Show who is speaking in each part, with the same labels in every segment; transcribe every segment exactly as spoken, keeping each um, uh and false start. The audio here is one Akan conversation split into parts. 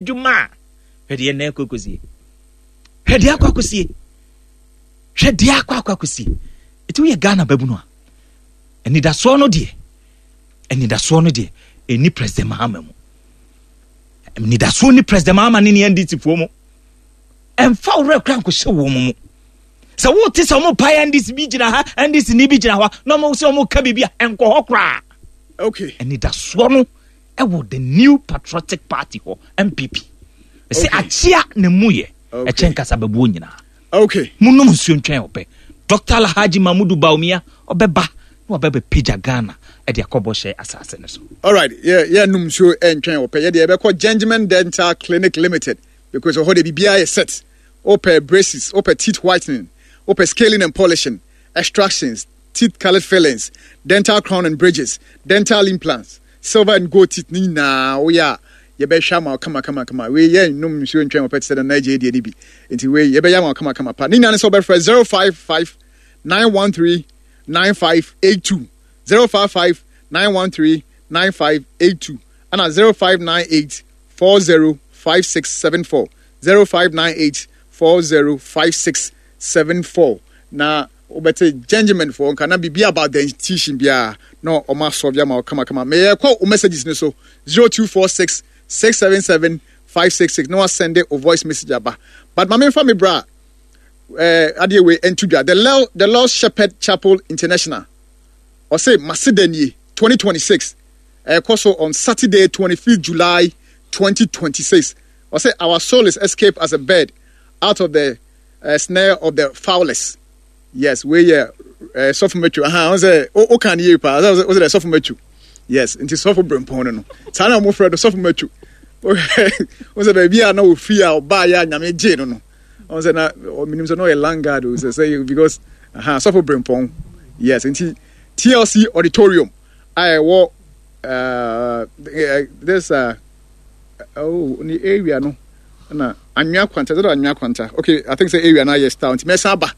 Speaker 1: Adwuma a, hwɛ deɛ nnɛ akɔ akɔsie, hwɛ deɛ akɔ akɔsie, hwɛ deɛ akɔ akɔ akɔsie. Ɛti woyɛ Ghana babunu a, anidasoɔ no deɛ, anidasoɔ no deɛ ɛni President Mahama mu. Anidasoɔ ni President Mahama ne ne N D C foɔ mu. Ɛmfa wo werɛ kora nkɔhyɛ wɔn mu sɛ wote sɛ ɔmo pae N D C bi gyina ha, N D C ni bi gyina hɔ na ɔmo sɛ ɔmo ka biribi a, ɛnkɔ hɔ koraa.
Speaker 2: Okay
Speaker 1: anidasoɔ no ɛwɔ the New Patriotic Party hɔ, N P P. Ɛsɛ
Speaker 2: Okay.
Speaker 1: akyea ne mu yɛ
Speaker 2: Okay.
Speaker 1: ɛkyɛn kasababuo nyinaa.
Speaker 2: Okay
Speaker 1: monom nsuo ntwɛn ɔpɛ Doctor Alhaji Mamudu Bawumia ɔbɛba na wabɛbɛpagya Ghana ɛde akɔbɔ hyɛ asase no so.
Speaker 2: Alright, yɛ yɛ num nsuo ɛntwɛn ɔpɛ. Yɛ deɛ, yɛbɛkɔ Gentleman Dental Clinic Limited because ɔhɔ de biribiara yɛ set. Wopɛ braces, wopɛ teeth whitening, wopɛ scaling and polishing, extractions, teeth colored fillings, dental crown and bridges, dental implants, silver and gold teeth ne nyinaa woyɛ a, yɛbɛhwɛ ama wo kama kama kama. Wei yɛ num nsuo ntwɛn ɔpɛ te sɛ Nana Agye deɛ ne bi nti wei yɛbɛyɛ ama wo kama kama pa. Ne nyinaa ne sɛ wobɛfrɛ zero five five nine one three nine five eight two, zero five five nine one three nine five eight two, ɛna zero five nine eight four zero five six seven four, zero five nine eight four zero five six seven four. Na wobɛte gentleman foɔ nka na biribi about dentition biara na ɔma asɔre ama wo kamakama. Meyɛ kɔ wo messages no so, zero two four six six seven seven five six six, na wasend o voice message aba. But ma memfa me bra eh, adeɛ wei nto dwa. the Lord, the Lord Shepherd Chapel International ɔsɛ maseda nie twenty twenty-six ɛkɔ so on Saturday, twenty-fifth July twenty twenty-six. Ɔsɛ our soul is escaped as a bird out of the uh, snare of the fowlers. Yes, wei yɛ uh, sɔfo Matthew aha. Ɔn sɛ o kan yie paa. Ɔsɛ ɔsɛ dɛ sɔfo Matthew, yes. Nti sɔfo brempɔn no no saa na wɔn frɛ no sɔfo Matthew. Ɔn sɛ baabi a na ofi a ɔbaa yɛ a Nyame gye no no ɔn sɛ na ɔminim sɛ na ɔyɛ landguard o sɛ sɛ because aha sɔfo brempɔn, yes. Nti T L C Auditorium a ɛwɔ uh, this uh, oh, ne area no na Anwea Kwanta sɛ Anwea Kwanta. Okay, I think sɛ area no ayɛ style nti mɛsan aba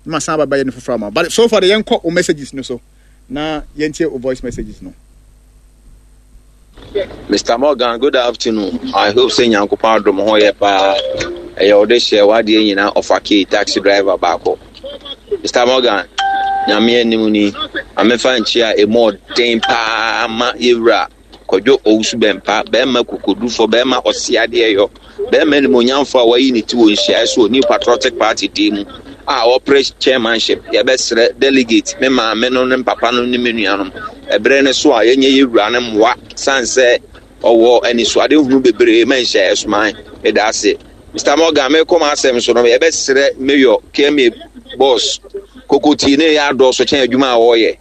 Speaker 2: na masan aba bɛyɛ no foforɔ ama. But so far de, yɛnkɔ o messages no so na yɛntie o voice messages no.
Speaker 3: Mister Morgan, good afternoon. I hope sɛ Nyankopɔn adom ho yɛ paa. Ɛyɛ ɔde hyɛ wadeɛ nyinaa ɔfa key taxi driver baako. Mister Morgan, Nyame anim ni. Amefa nkyi a emu ɔden paa ma yɛwura Kwadwo Owusu Bɛmpa, bɛrima kokodufo, bɛrima ɔse adeɛ yɔ, bɛrima animonyamfo a wayi ne ti wɔ nhyiaeɛ so wɔ New Patriotic Party din mu a ɔpere chairmanship. Yɛbɛsrɛ delegate, me maame no ne papa no ne me nuanom. Ɛberɛ no so a yɛnyɛ yɛwura no mmoa san sɛ ɔwɔ anisoade hunu bebree ma nhyɛ ɛsoman. Meda ase. Mister Morgan, mekɔ m asɛm so no, yɛbɛsrɛ Mayor K M A boss, kokotii ne yɛ adɔɔso kyɛn adwuma a wɔreyɛ.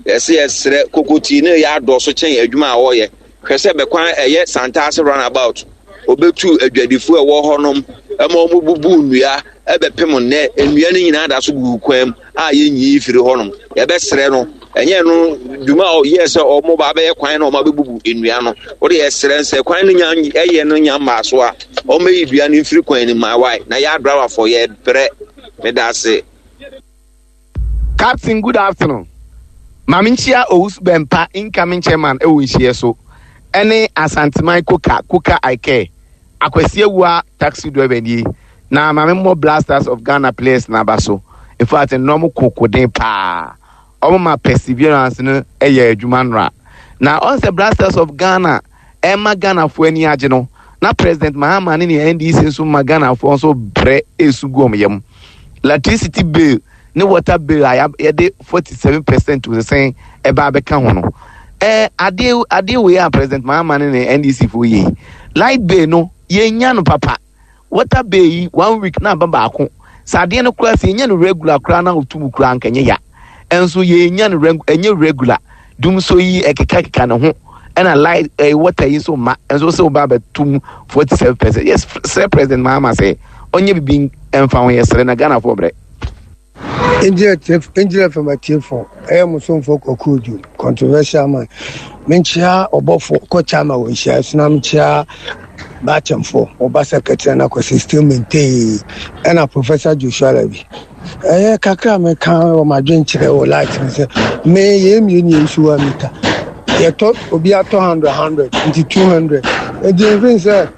Speaker 3: Yɛsɛ yɛsrɛ, kokotii ne yɛ adɔɔso kyɛn adwuma a wɔreyɛ. Hwɛ sɛ bɛkwan ɛyɛ Santase Roundabout, obetu adwadifo a ɛwɔ hɔnom ɛma wɔn bubu nnua ɛbɛpem nnɛ nnua no nyinaa da so gugu kwan mu a yɛnyi firi hɔnom. Yɛbɛsrɛ no, ɛnyɛ no dwuma a ɔyɛ sɛ ɔmo ba abɛyɛ kwan na ɔmo abɛbubu nnua no. Wode yɛsrɛ sɛ kwan no nya ɛyɛ no nya mmaa so a, ɔmo bɛyi dua no mfiri kwan no mu awae na yɛ adrawafoɔ yɛbrɛ. Meda ase.
Speaker 4: Captain, good afternoon. Maame, nkyia Owusu Bɛmpa, incoming chairman ɛwɔ nhyia so, ɛne Asanteman Koka Koka Ike Akwasi Awua taxi driver nie. Na maame, mmɔ Black Stars of Ghana players n'aba so. In fact, nnɔm kokoden paa, ɔmo ma perseverance no ɛyɛ adwuma nora na ɔn sɛ Black Stars of Ghana ɛma Ghanafoɔ ani agye no, na President Mahama ne ne N D C nso ma Ghanafoɔ nso brɛ esu gu ɔmo yam. Electricity bill ne water bill a yɛde forty seven percent sɛn ɛba abɛka ho no, ɛɛ adeɛ adeɛ wei a President Mahama ne ne N D C fo yie, light bill no yɛnya no papa, water bill yi one week na aba baako. Sɛ adeɛ no koraa sɛ yɛnya no regular koraa na otum koraa nkɛnyɛ ya, ɛnso yɛnya no reg ɛnyɛ regular. Dum so yi ɛkeka keka ne ho, ɛna light ɛɛ water yi nso ma ɛnso sɛ ɔba abɛtum forty seven percent. Yes, sɛ President Mahama sɛ ɔnyɛ bibi ɛnfa ho, yɛ srɛ na Ghana fo brɛ.
Speaker 5: Angel F M atiefo, ɛyɛ mo somfo Kwaku, controversial man. Menkyia ɔbɔfo kɔkyɛ ama wɔ nhyia so na menkyia baakyɛmfo ɔba secretary na kɔsɛ still maintain, ɛna Professor Joshua Labi. Ɛyɛ kakra meka wɔ m'adwenkyerɛ wɔ light no sɛ me yɛ mmienu yɛ nsuwa mita yɛtɔ, obi atɔ hundred hundred nti two hundred, nti mfin sɛ